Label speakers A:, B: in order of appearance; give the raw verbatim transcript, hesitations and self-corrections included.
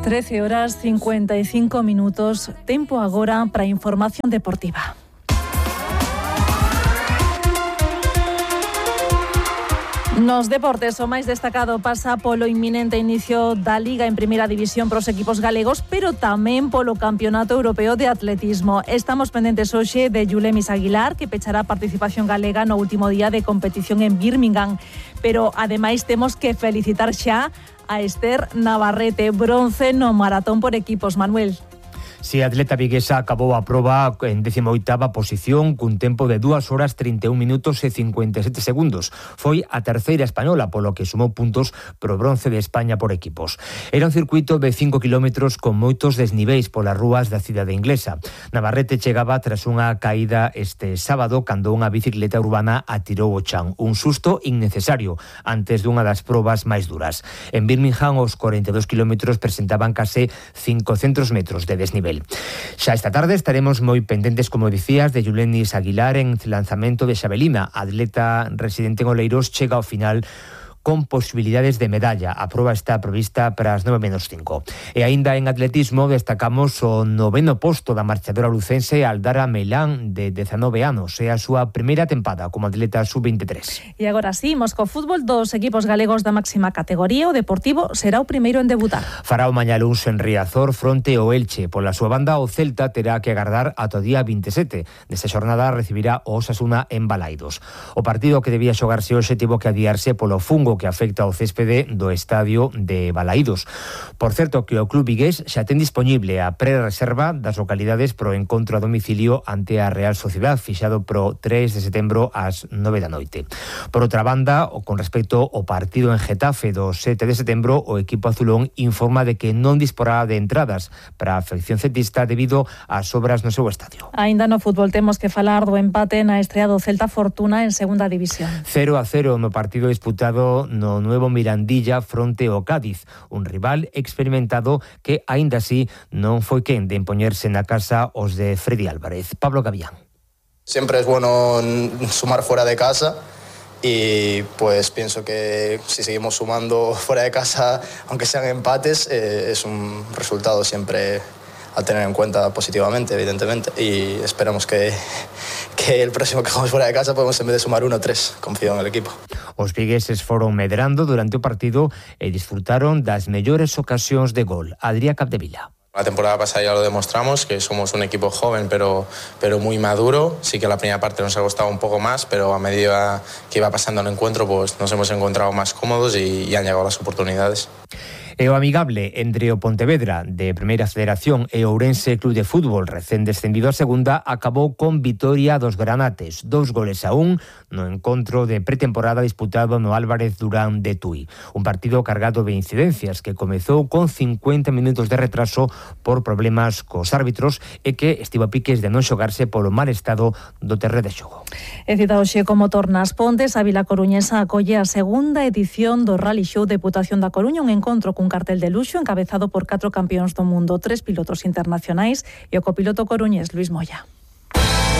A: trece horas cincuenta y cinco minutos, tempo agora para a información deportiva. Nos deportes, o máis destacado pasa polo inminente inicio da Liga en Primeira División pros equipos galegos, pero tamén polo Campeonato Europeo de Atletismo. Estamos pendentes hoxe de Yulemis Aguilar, que pechará a participación galega no último día de competición en Birmingham. Pero, ademais, temos que felicitar xa a Esther Navarrete, bronce no maratón por equipos. Manuel.
B: Si a atleta viguesa acabou a proba en décima oitava posición cun tempo de dúas horas trinta e un minutos e cincuenta e sete segundos. Foi a terceira española, polo que sumou puntos pro bronce de España por equipos. Era un circuito de cinco kilómetros con moitos desniveis polas rúas da cidade inglesa. Navarrete chegaba tras unha caída este sábado cando unha bicicleta urbana atirou o chan. Un susto innecesario antes dunha das probas máis duras. En Birmingham os corenta e dous kilómetros presentaban case cincocentos metros de desnivel. Xa esta tarde estaremos moi pendentes, como dicías, de Yulemis Aguilar en lanzamento de xavelina. A atleta residente en Oleiros chega ao final con posibilidades de medalla. A proba está prevista para as nove menos cinco. E aínda en atletismo destacamos o noveno posto da marchadora lucense Aldara Meilán, de dezanove anos. É a súa primeira tempada como atleta sub veintitrés.
A: E agora sí, imos co fútbol dos equipos galegos da máxima categoría. O Deportivo será o primeiro en debutar.
B: Fará o mañá luns en Riazor fronte ao Elche. Pola súa banda, o Celta terá que agardar ata o día veintisiete. Nesta xornada recibirá o Osasuna en Balaidos. O partido que debía xogarse hoxe tivo que adiarse polo fungo que afecta ao céspede do estadio de Balaídos. Por certo, que o club vigués xa ten dispoñible a pre-reserva das localidades pro encontro a domicilio ante a Real Sociedad, fixado pro tres de setembro ás nove da noite. Por outra banda, o con respecto ao partido en Getafe do sete de setembro, o equipo azulón informa de que non disporá de entradas para a afección celtista debido ás obras no seu estadio.
A: Aínda no fútbol temos que falar do empate na estrea do Celta Fortuna en segunda división.
B: cero a cero no partido disputado no nuevo Mirandilla fronte ao Cádiz, un rival experimentado que aínda así non foi quen de impoñerse na casa os de Freddy Álvarez. Pablo Gavián.
C: Siempre es bueno sumar fuera de casa y pues pienso que si seguimos sumando fuera de casa, aunque sean empates, eh, es un resultado siempre a tener en cuenta positivamente, evidentemente, y esperamos que, que el próximo que jugamos fuera de casa podemos en vez de sumar uno, tres. Confío en el equipo.
B: Os vigueses foron medrando durante o partido e disfrutaron das mellores ocasións de gol. Adrián Capdevila.
D: La temporada pasada ya lo demostramos, que somos un equipo joven pero, pero muy maduro. Sí que la primera parte nos ha costado un poco más, pero a medida que iba pasando el encuentro pues nos hemos encontrado más cómodos y, y han llegado las oportunidades.
B: E o amigable entre o Pontevedra de Primeira Federación e o Ourense Club de Fútbol, recén descendido a segunda, acabou con vitoria dos granates, dous goles a un no encontro de pretemporada disputado no Álvarez Durán de Tui. Un partido cargado de incidencias que comezou con cincuenta minutos de retraso por problemas cos árbitros e que estivo a piques de non xogarse polo mal estado do terreo de xogo.
A: E cita hoxe como tornas Pontes, a Vila Coruñesa acolle a segunda edición do Rally Show Deputación da Coruña, un encontro con cartel de luxo encabezado por catro campións do mundo, tres pilotos internacionais e o copiloto coruñés Luis Moya.